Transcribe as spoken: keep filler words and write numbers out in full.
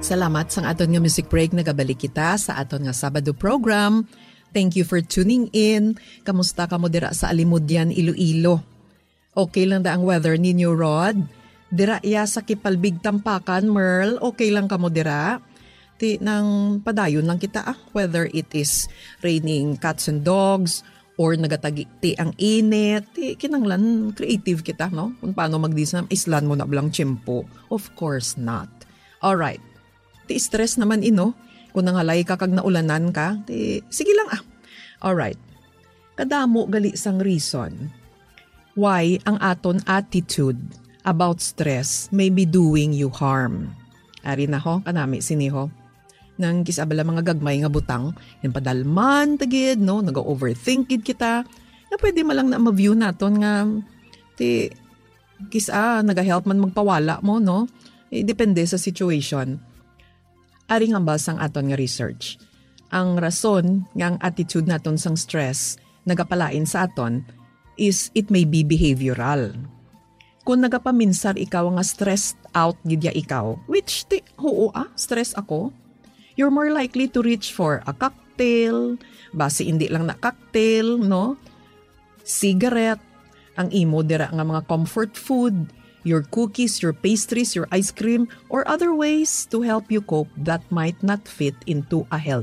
Salamat sang aton nga music break. Nagabalik kita sa aton nga Sabado program. Thank you for tuning in. Kamusta kamo dira sa Alimodian, Iloilo? Okay lang da ang weather ninyo, Rod? Dira iya sa Kipalbig, Tampakan, Merl, okay lang kamo dira? Ti nang padayon lang kita, ah, whether it is raining cats and dogs or nagatagiti ang init, ti kinanglan creative kita, no? Kung paano magdisam, islan mo na blang tiyempo. Of course not. Alright. Ti stress naman ino. Kung nangalay ka kag naulanan ka, ti sige lang, ah. Alright. Kadamo gali sang reason why ang aton attitude about stress may be doing you harm. Ari na ho, kanami sini ho. Nang kis-a bala mga gagmay nga butang, yung padalman ta gid, no? Naga-overthink gid kita. Na pwede man lang na ma-view naton nga, ti, kis-a, naga-help man magpawala mo, no? Eh, depende sa situation. Ari nga bal sang aton nga research. Ang rason nga ang attitude naton sang stress nagapalain sa aton is it may be behavioral. Kung nagapaminsar ikaw nga stressed out gid ya ikaw, which ti, huo, ah, stress ako, you're more likely to reach for a cocktail, basi hindi lang na cocktail, no? Cigarette, ang imo dira nga mga comfort food, your cookies, your pastries, your ice cream, or other ways to help you cope that might not fit into a healthy